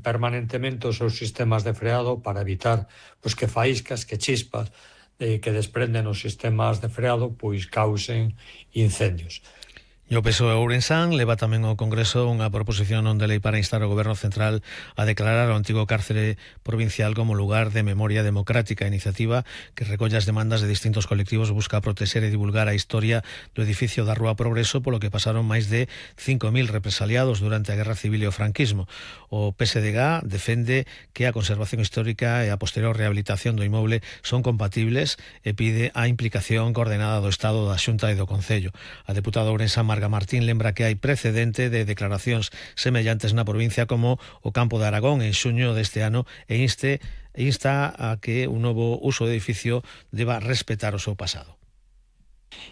permanentemente os seus sistemas de freado para evitar pois, que faíscas, que chispas que desprenden os sistemas de freado pois causen incendios. E o PSOE ourensán leva tamén ao Congreso unha proposición non de lei para instar ao Goberno Central a declarar o antigo cárcere provincial como lugar de memoria democrática. A iniciativa, que recolle as demandas de distintos colectivos, busca protexer e divulgar a historia do edificio da Rúa Progreso, polo que pasaron máis de 5.000 represaliados durante a Guerra Civil e o franquismo. O PSDG defende que a conservación histórica e a posterior rehabilitación do inmoble son compatibles e pide a implicación coordenada do Estado, da Xunta e do Concello. A deputada ourensán Marga Martín lembra que hai precedente de declaracións semellantes na provincia como o Campo de Aragón en xuño deste ano e insta a que un novo uso do edificio deba respetar o seu pasado.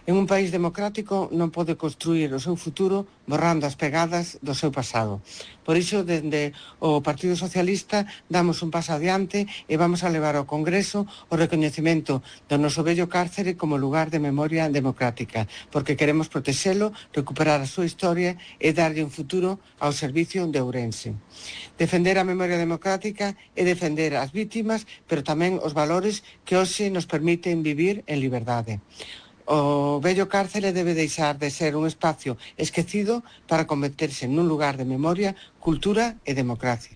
En un país democrático non pode construir o seu futuro borrando as pegadas do seu pasado. Por iso, dende o Partido Socialista, damos un paso adiante e vamos a levar ao Congreso o recoñecemento do noso vello cárcere como lugar de memoria democrática, porque queremos protexelo, recuperar a súa historia e darlle un futuro ao servicio de Ourense. Defender a memoria democrática é defender as vítimas, pero tamén os valores que hoxe nos permiten vivir en liberdade. O vello cárcere debe deixar de ser un espacio esquecido para converterse nun lugar de memoria, cultura e democracia.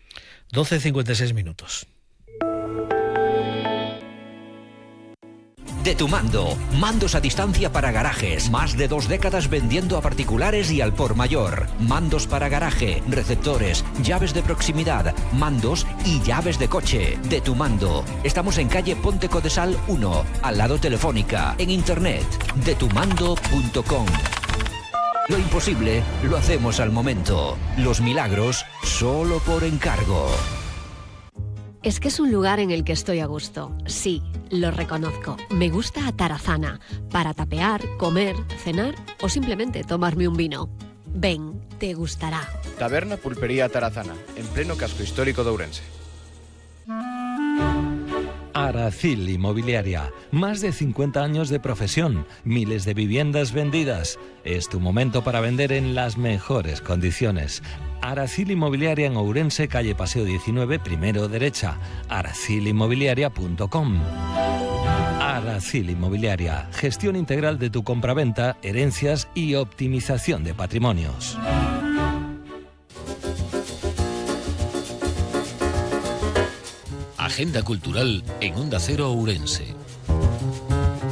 12:56 minutos. De Tu Mando, mandos a distancia para garajes, más de 2 décadas vendiendo a particulares y al por mayor. Mandos para garaje, receptores, llaves de proximidad, mandos y llaves de coche. De Tu Mando. Estamos en calle Ponte Codesal 1, al lado Telefónica, en internet, detumando.com. Lo imposible lo hacemos al momento. Los milagros solo por encargo. Es que es un lugar en el que estoy a gusto. Sí, lo reconozco. Me gusta Atarazana, para tapear, comer, cenar o simplemente tomarme un vino. Ven, te gustará. Taberna Pulpería Atarazana, en pleno casco histórico de Ourense. Aracil Inmobiliaria, más de 50 años de profesión, miles de viviendas vendidas. Es tu momento para vender en las mejores condiciones. Aracil Inmobiliaria en Ourense, calle Paseo 19, primero derecha. aracilinmobiliaria.com. Aracil Inmobiliaria, gestión integral de tu compraventa, herencias y optimización de patrimonios. Agenda cultural en Onda Cero Ourense.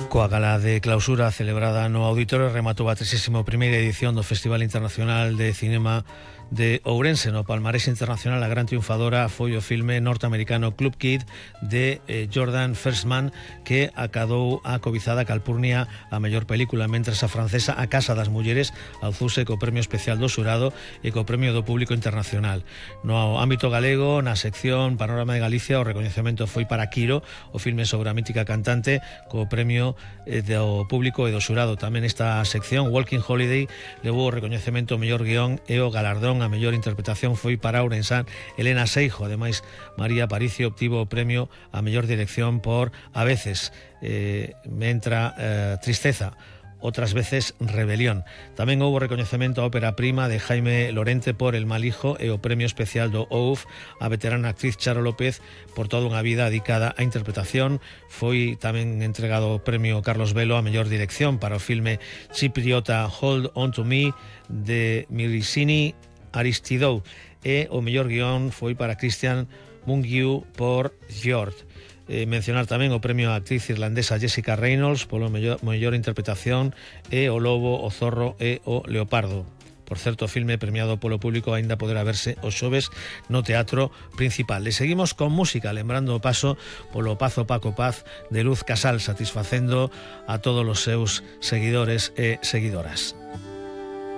Coa gala de clausura celebrada no auditorio rematou a 31ª edición do Festival Internacional de Cinema de Ourense. No palmarés internacional, a gran triunfadora foi o filme norteamericano Club Kid de Jordan Firstman, que acadou a cobizada Calpurnia a mellor película, mentres a francesa A Casa das Mulleres alzouse co premio especial do xurado e co premio do público internacional. No ámbito galego, na sección Panorama de Galicia, o recoñecemento foi para Quiro, o filme sobre a mítica cantante, co premio do público e do xurado. Tamén esta sección, Walking Holiday, levou o recoñecemento ao mellor guión e o galardón a mellor interpretación foi para ourensán Elena Seijo. Ademais, María Aparicio obtivo o premio a mellor dirección por A veces me entra tristeza, outras veces rebelión. Tamén houbo recoñecemento á ópera prima de Jaime Lorente por El mal hijo e o premio especial do OUF a veterana actriz Charo López por toda unha vida dedicada á interpretación. Foi tamén entregado o premio Carlos Velo a mellor dirección para o filme chipriota Hold On To Me de Mirisini Aristidou, e o mellor guión foi para Christian Mungiu por Fjord. Mencionar tamén o premio á actriz irlandesa Jessica Reynolds polo mellor interpretación e o lobo, o zorro e o leopardo. Por certo, o filme premiado polo público aínda poderá verse os xoves no Teatro Principal. E seguimos con música, lembrando o paso polo Pazo Paco Paz de Luz Casal, satisfacendo a todos os seus seguidores e seguidoras.